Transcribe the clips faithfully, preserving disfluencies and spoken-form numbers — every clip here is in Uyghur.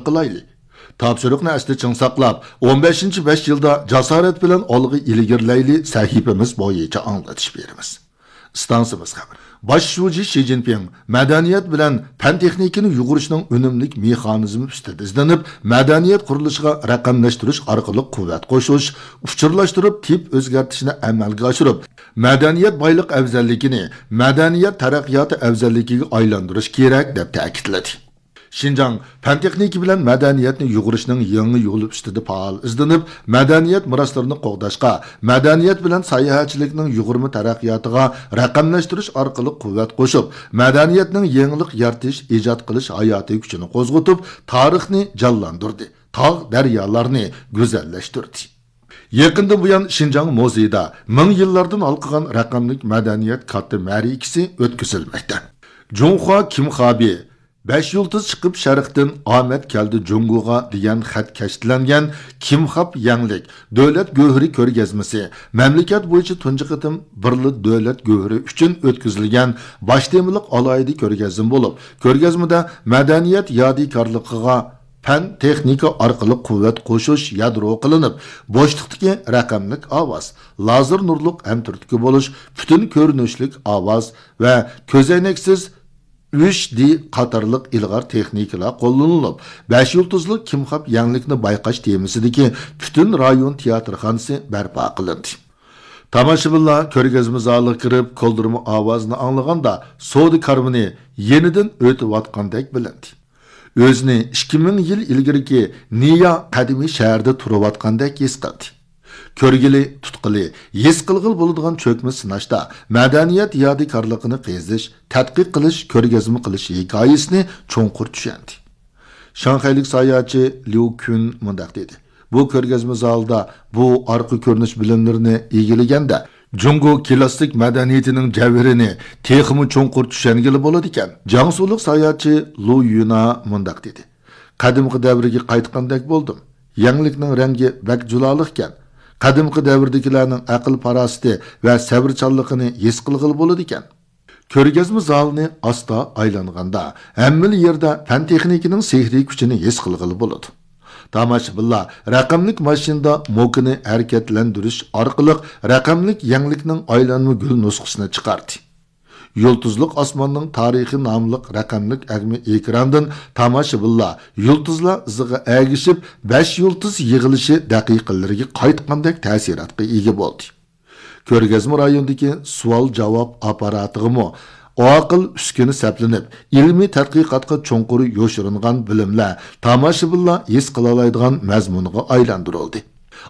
قىلايلى. تاپشۇرۇقنى ئەستە چىڭ ساقلاپ، ئون بەشىنچى بەش يىلدا جاسارەت بىلەن ئالغا ئىلگىرىلەيلى سەھىپىمىز بويىچە ئاڭلىتىش بېرىمىز. ئىستانسىمىز خەۋىرى. باش شۇجى شى جىنپىڭ مەدەنىيەت بىلەن پەن تېخنىكىنى يۇغۇرۇشنىڭ ئۈنۈملۈك مېخانىزمى ئۈستىدە ئىزدىنىپ، مەدەنىيەت قۇرۇلۇشىغا رەقەملەشتۈرۈش ئارقىلىق قۇۋۋەت قوشۇش، ئۇچۇرلاشتۇرۇپ تىپ ئۆزگەرتىشنى ئەمەلگە ئاشۇرۇپ، مەدەنىيەت بايلىق ئەۋزەللىكىنى مەدەنىيەت تەرەققىياتى ئەۋزەللىكىگە ئايلاندۇرۇش كېرەك، دەپ تەكىتلىدى. شىنجاڭ پەن تېخنىكا بىلەن مەدەنىيەتنى يۇغۇرۇشنىڭ يېڭى يولى ئۈستىدە پائال ئىزدىنىپ، مەدەنىيەت مىراسلىرىنى قوغداشقا، مەدەنىيەت بىلەن ساياھەتچىلىكنىڭ يۇغۇرما تەرەققىياتىغا رەقەملەشتۈرۈش ئارقىلىق قۇۋۋەت قوشۇپ، مەدەنىيەتنىڭ يېڭىلىق يارىتىش، ئىجاد قىلىش ھاياتىي كۈچىنى قوزغىتىپ، تارىخنى جانلاندۇردى، تاغ، دەريالارنى گۈزەللەشتۈردى. يېقىندىن بۇيان شىنجاڭ مۇزېيىدا مىڭ يىللاردىن ھالقىغان رەقەملىك مەدەنىيەت كاتتا مەرىكىسى ئۆتكۈزۈلمەكتە. جۇڭخۇا كىم خابى، بەش يۇلتۇز چىقىپ شەرقتىن، ئامەت كەلدى جۇڭگوغا دېگەن خەت كەشتىلەنگەن كىم خاب يەڭلىك دۆلەت گۆھىرى كۆرگەزمىسى مەملىكەت بويىچە تۇنجى قېتىم بىرلا دۆلەت گۆھىرى ئۈچۈن ئۆتكۈزۈلگەن باش تېمىلىق ئالاھىدە كۆرگەزمە بولۇپ، كۆرگەزمىدە مەدەنىيەت يادىكارلىقىغا پەن، تېخنىكا ئارقىلىق قۇۋۋەت قوشۇش يادرو قىلىنىپ، بوشلۇقتىكى رەقەملىك ئاۋاز، لازېر نۇرلۇق ھەمتۈرتكە بولۇش، پۈتۈن كۆرۈنۈشلۈك ئاۋاز ۋە كۆزەينەكسىز ئۈچ دى قاتارلىق ئىلغار تېخنىكىلار قوللىنىلىپ، بەش يۇلتۇزلۇق كىم خاب يەڭلىكنى بايقاش تېمىسىدىكى پۈتۈن رايون تىياتىرخانىسى بەرپا قىلىندى. تاماشىبىنلار كۆرگەزمە زالىغا كىرىپ، كولدۇرما ئاۋازىنى ئاڭلىغاندا، سودا كارۋىنى يېنىدىن ئۆتۈۋاتقاندەك بىلىندى. ئۆزىنى ئىككى مىڭ يىل ئىلگىرىكى نىيا قەدىمىي شەھىرىدە تۇرۇۋاتقاندەك ھېس قىلدى. كۆرگىلى، تۇتقىلى، ھېس قىلغىلى بولىدىغان چۆكمە سىناشتا مەدەنىيەت يادىكارلىقىنى قېزىش، تەتقىق قىلىش، كۆرگەزمە قىلىش ھېكايىسىنى چوڭقۇر چۈشەندى. شاڭخەيلىك ساياھەتچى ليۇ كۈن مۇنداق دېدى: بۇ كۆرگەزمە زالىدا بۇ ئارقا كۆرۈنۈش بىلىملىرىنى ئىگىلىگەندە، جۇڭگو كلاسسىك مەدەنىيىتىنىڭ جەۋھىرىنى تېخىمۇ چوڭقۇر چۈشەنگىلى بولىدىكەن. جياڭسۇلۇق ساياھەتچى لۇ يۈنا مۇنداق دېدى: قەدىمكى دەۋرگە قايتقاندەك بولدۇم. يەڭلىكنىڭ رەڭگى بەك جۇلالىقكەن. قەدىمكى دەۋردىكىلەرنىڭ ئەقىل-پاراسىتى ۋە سەۋرچانلىقىنى ھېس قىلغىلى بولىدىكەن. كۆرگەزمە زالىنى ئاستا ئايلانغاندا، ھەممىلا يەردە پەن-تېخنىكىنىڭ سېھرىي كۈچىنى ھېس قىلغىلى بولىدۇ. تاماشىبىنلار رەقەملىك ماشىنىدا موكىنى ھەرىكەتلەندۈرۈش ئارقىلىق رەقەملىك يەڭلىكنىڭ ئايلانما گۈل نۇسخىسىنى چىقاردى. يۇلتۇزلۇق ئاسماننىڭ تارىخى ناملىق رەقەملىك ئەگمە ئېكراندىن تاماشىبىنلار يۇلتۇزلار ئىزىغا ئەگىشىپ، بەش يۇلتۇز يىغىلىشى دەقىقىلىرىگە قايتقاندەك تەسىراتقا ئىگە بولدى. كۆرگەزمە رايونىدىكى سوئال-جاۋاب ئاپپاراتىغىمۇ ئاقىل ئۈسكۈنە سەپلىنىپ، ئىلمىي تەتقىقاتقا چوڭقۇر يوشۇرۇنغان بىلىملەر تاماشىبىنلار ھېس قىلالايدىغان مەزمۇنغا ئايلاندۇرۇلدى.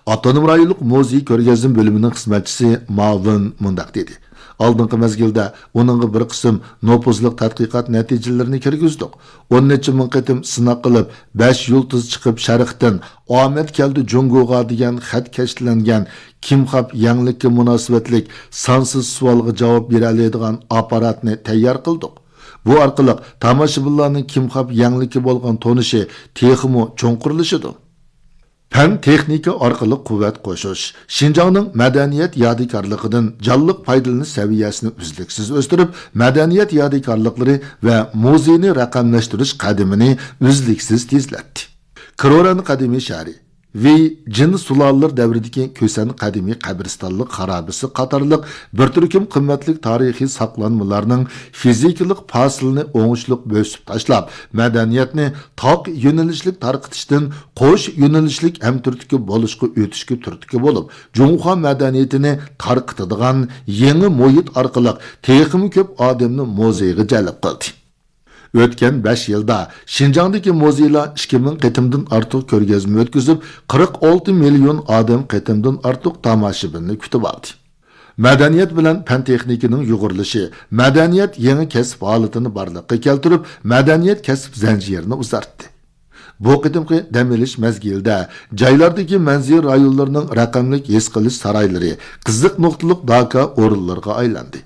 ئاپتونوم رايونلۇق مۇزېي كۆرگەزمە بۆلۈمىنىڭ خىزمەتچىسى ماۋىن مۇنداق دېدى: ئالدىنقى مەزگىلدە ئۇنىڭغا بىر قىسىم نوپۇزلۇق تەتقىقات نەتىجىلىرىنى كىرگۈزدۇق. ئون نەچچە مىڭ قېتىم سىناق قىلىپ، بەش يۇلتۇز چىقىپ شەرقتىن، ئامەت كەلدى جۇڭگوغا دېگەن خەت كەشتىلەنگەن كىم خاب يەڭلىككە مۇناسىۋەتلىك سانسىز سوئالغا جاۋاب بېرەلەيدىغان ئاپپاراتنى تەييار قىلدۇق. بۇ ئارقىلىق تاماشىبىنلارنىڭ كىم خاب يەڭلىككە بولغان تونۇشى تېخىمۇ چوڭقۇرلىشىدۇ. پەن-تېخنىكا ئارقىلىق قۇۋۋەت قوشۇش، شىنجاڭنىڭ مەدەنىيەت يادىكارلىقىدىن جانلىق پايدىلىنىش سەۋىيەسىنى ئۈزلۈكسىز ئۆستۈرۈپ، مەدەنىيەت يادىكارلىقلىرى ۋە مۇزېينى رەقەملەشتۈرۈش قەدىمىنى ئۈزلۈكسىز تېزلەتتى. كروران قەدىمىي شەھىرى، ۋېي جىن سۇلالىلىرى دەۋرىدىكى كۈسەن قەدىمىي قەبرىستانلىق خارابىسى قاتارلىق بىر تۈركۈم قىممەتلىك تارىخىي ساقلانمىلارنىڭ فىزىكىلىق پاسىلىنى ئوڭۇشلۇق بۆسۈپ تاشلاپ، مەدەنىيەتنى تاق يۆنىلىشلىك تارقىتىشتىن قوش يۆنىلىشلىك ھەمتۈرتكە بولۇشقا ئۆتۈشكە تۈرتكە بولۇپ، جۇڭخۇا مەدەنىيىتىنى تارقىتىدىغان يېڭى مۇھىت ئارقىلىق تېخىمۇ كۆپ ئادەمنى مۇزېيغا جەلپ قىلدى. ئۆتكەن بەش يىلدا شىنجاڭدىكى مۇزېيلار ئىككى مىڭ قېتىمدىن ئارتۇق كۆرگەزمە ئۆتكۈزۈپ، قىرىق ئالتە مىليون ئادەم قېتىمدىن ئارتۇق تاماشىبىننى كۈتۈۋالدى. مەدەنىيەت بىلەن پەن-تېخنىكىنىڭ يۇغۇرۇلۇشى مەدەنىيەت يېڭى كەسىپ ھالىتىنى بارلىققا كەلتۈرۈپ، مەدەنىيەت كەسىپ زەنجىرىنى ئۇزارتتى. بۇ قېتىمقى دەم ئېلىش مەزگىلىدە جايلاردىكى مەنزىرە رايونلىرىنىڭ رەقەملىك ھېس قىلىش سارايلىرى قىزىق نۇقتىلىق داكا ئورۇنلىرىغا ئايلاندى.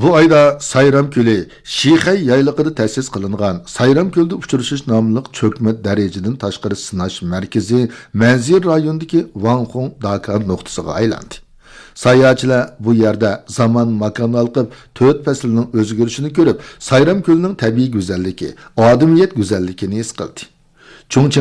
بۇ ئايدا سايرام كۆلى شىخەي يايلىقىدا تەسىس قىلىنغان سايرام كۆلدە ئۇچرىشىش ناملىق چۆكمە دەرىجىدىن تاشقىرى سىناش مەركىزى مەنزىرە رايونىدىكى ۋاڭخۇڭ داكا نۇقتىسىغا ئايلاندى. ساياھەتچىلەر بۇ يەردە زامان ماكان ھالقىپ، تۆت پەسىلنىڭ ئۆزگىرىشىنى كۆرۈپ، سايرام كۆلىنىڭ تەبىئىي گۈزەللىكى، ئادىمىيەت گۈزەللىكىنى ھېس قىلدى. چۇڭچىڭ